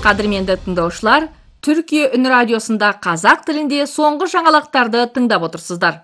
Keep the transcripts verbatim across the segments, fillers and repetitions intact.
Кадырменде тыңдаушылар, Түркия үн радиосунда казак тилинде соңку жаңалыктарды тыңдап отурсуздар.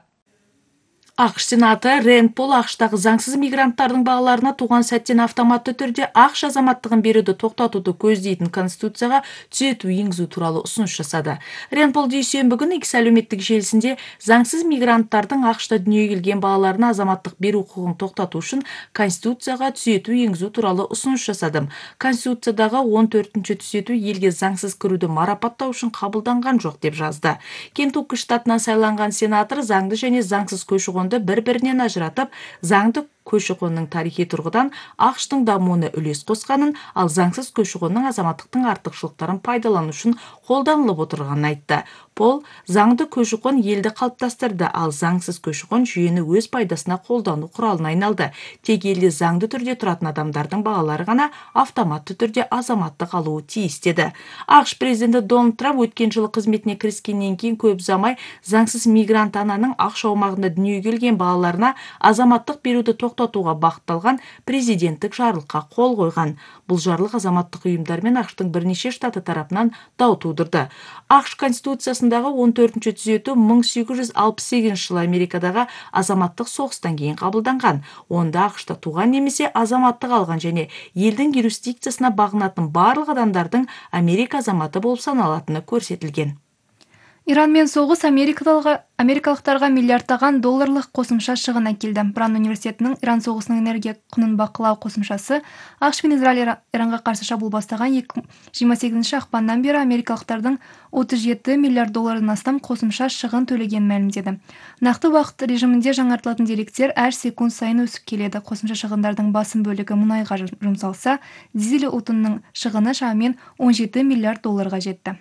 АКШ Сенаты Рэнд Пол АКШтагы заңсыз мигранттардын балаларына тууган сәттен автоматтуу түрдө АКШ азаматтыгын берүүдү токтотууду көздейтин Конституцияга түзөтүү энгизүү тууралуу сунуш жасады. Рэнд Пол дүйсөнбү күнү X әлеуметтик желисинде заңсыз мигранттардын АКШта дүйнөгө келген балаларына азаматтык берүү укугун токтотуу үчүн Конституцияга түзөтүү энгизүү тууралуу сунуш жасадым. Конституциядагы он төртүнчү түзөтүү элге заңсыз кирүүдү марапаттоо үчүн кабылданган жок деп жазды. Кентукки штатынан сайланган сенатор заңды жана заңсыз көчү-кон бір-бірінен ажыратып, заңды көші-қонның тарихи тұрғыдан АКШтың дамуына үлес қосқанын, ал заңсыз көші-қонның азаматтықтың артықшылықтарын пайдалану үшін қолданылып отырғанын айтты. Пол заңды көші-қон елді қалыптастырды, ал заңсыз көші-қон жүйені өз пайдасына қолдану құралына айналды. Тек елде заңды түрде тұратын адамдардың балалары ғана автоматты түрде азаматтық алуы тиіс деді. АКШ президенті Дональд Трамп өткен жылы қызметіне кіріскеннен кейін көп ұзамай заңсыз мигрант ананың АКШ аумағында дүниеге келген балаларына азаматтық берүүдү токтотууга багытталган президенттик жарлыкка кол койгон. Бул жарлык азаматтык уюмдар менен АКШтын бир нече штаты тарапынан дау туудурду. АКШ конституциясындагы он төртүнчү түзөтүү миң сегиз жүз алпыс сегизинчи жылы Америкадагы азаматтык согуштан кийин кабылданган. Онда АКШта тууган немесе азаматтык алган және элдин юрисдикциясына багынатын барлык адамдардын Америка азаматы болуп саналатыны көрсөтүлгөн. Иран мен согуш америкалыктарга миллиарддаган долларлык косумча чыгын әкелди. Бран университетинин Иран согушунун энергия кунун бакылоо косумчасы АКШ менен Израиль Иранга каршы чабуул бастаган жыйырма сегизинчи акпандан бери америкалыктардын отуз жети миллиард доллардан астам косумча чыгын төлөгөнүн маалимдеди. Накты убакыт режиминде жаңартылатын деректер әр секунд сайын өсүп келеді. Косумча чыгындардын басым бөлүгү мунайга жумсалса, дизель отунунун чыгыны шамамен он жети миллиард долларга жетти.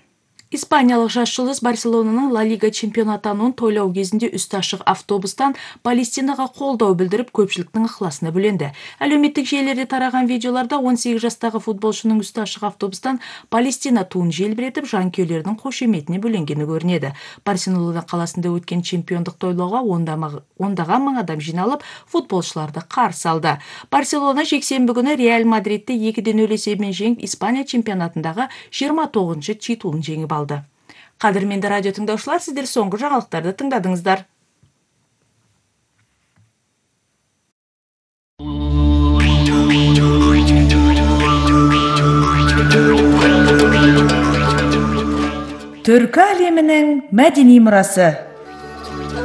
Испаниялык жаш жылдыз Барселонанын Ла Лига чемпионатынын тойлоо кезинде үстү ашык автобустан Палестинага колдоо билдирип көпчүлүктүн ыхласына бөлөндү. Әлеуметтик желілерде тараган видеоларда он сегиз жастагы футболчунун үстү ашык автобустан Палестина туун желбиретип, жанкүйерлердин кошеметине бөлөнгени көрүнөдү. Барселона каласында өткөн чемпиондук тойлоого ондаган миң адам жиналып, футболчуларды каршы алды. Барселона жексенбі күнү Реал Мадридти экиден нөл эсебинен жеңип, Испания чемпионатындагы жыйырма тогузунчу титулун жеңип алды. Кадырменде радио тыңдаушылар, сиздер соңку жаңалыктарды тыңдадыңыздар. Түркү әлеминин мәдени мурасы.